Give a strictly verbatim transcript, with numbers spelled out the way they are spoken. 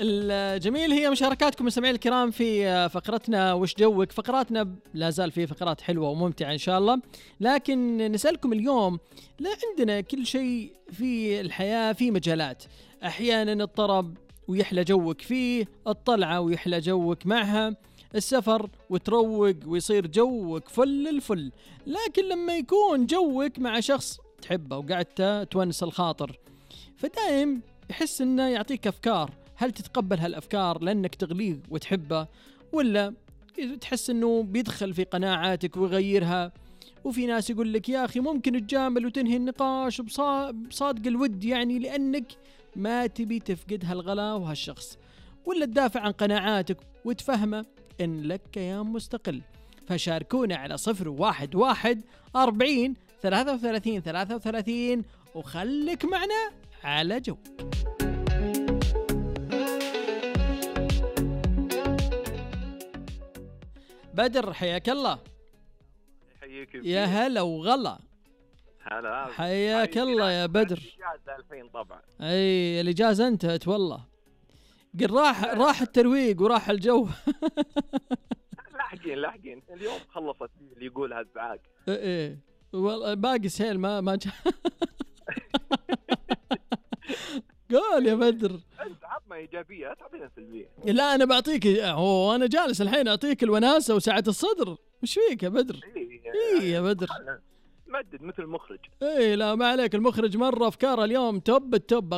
الجميل هي مشاركاتكم مستمعين الكرام في فقرتنا وش جوك. فقراتنا لا زال في فقرات حلوة وممتعة إن شاء الله، لكن نسألكم اليوم، لا عندنا كل شيء في الحياة في مجالات، أحيانا الطرب ويحلى جوك فيه، الطلعة ويحلى جوك معها، السفر وتروق ويصير جوك فل الفل. لكن لما يكون جوك مع شخص تحبه وقعدت تونس الخاطر، فدائم يحس انه يعطيك افكار. هل تتقبل هالافكار لانك تغليه وتحبه، ولا تحس انه بيدخل في قناعاتك ويغيرها؟ وفي ناس يقول لك يا اخي ممكن تجامل وتنهي النقاش بصادق الود، يعني لانك ما تبي تفقد هالغلا وهالشخص، ولا تدافع عن قناعاتك وتفهمه ان لك كيان مستقل. فشاركونا على صفر واحد واحد أربعين ثلاثة وثلاثين ثلاثة وثلاثين وخليك معنا على جو. بدر حياك الله. حياك يا هلا وغلا. هلا حياك الله يا بدر. اجازه الحين طبعا. اي الاجازه انتهت والله، قل راح راح الترويق وراح الجو. لاحقين لاحقين اليوم خلصت اللي يقول هالزعاق. ايه ايه والله باقي سهل ما ما جا. قول يا بدر. انت عطنا ايجابيه تعطينا سلبيه. لا انا بعطيك، هو انا جالس الحين اعطيك الوناسه وسعه الصدر. وش فيك يا بدر؟ ايه إيه يا بدر مدد مثل المخرج. ايه لا ما عليك، المخرج مره افكاره اليوم توب التوب.